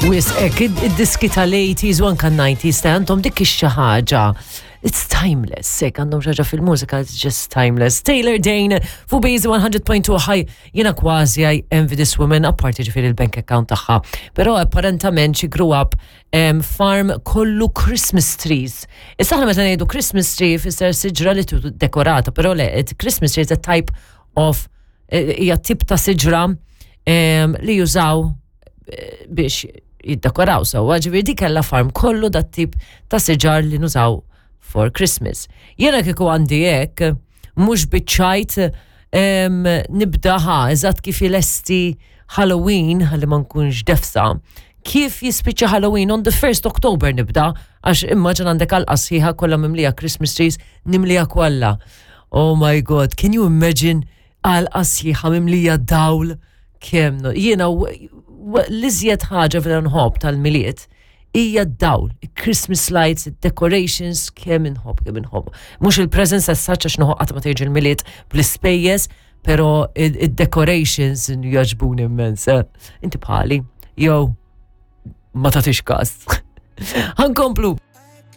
Wisq hekk, id-diski tal-80s u anka 90s ta' għandhom dik ix-xi ħaġa. It's timeless, hekk għandhom xi ħaġa fil-mużika, it's just timeless. Taylor Dane, fuq Bazy 100.2 ħaj, jiena kważi I envy this woman, apparti ġifieri il-bank account tagħha. Però apparentament she grew up um, farm kollu Christmas trees. Issa aħna meta ngħidu Christmas tree fisser siġra li tu dekorata, però le, Christmas tree is a type of eh, hija tip ta' siġra li jużaw eh, biex jiddekoraw sewwa, ġifieri dik kellha farm kollu dat tip ta' siġar li nużaw for Christmas. Jiena kieku għandi hekk, mhux biċ-ċajt nibda ħa, eżatt kif ilesti Halloween, ħalli ma nkunx defsa, kif jispiċċa Halloween on the 1st October nibda, għax immaġin għandek għalqa sħiħa kollha mimlija Christmas trees, nimlija kollha. Oh my God, can you imagine għalqa sħiħa mimlija dawl kemm jiena l-iżjed ħaġa vera nħobb tal-Milied hija d-dawl, Christmas lights, decorations, kemm inħobb, kemm inħobb. Mhux il-presents as such għax noħoq qatt ma tiġi l-Milied bl-ispejjeż, però id-decorations jogħġbuni immens. Eh. Inti bħali, jew ma tagħtix każ. Ħankomplu.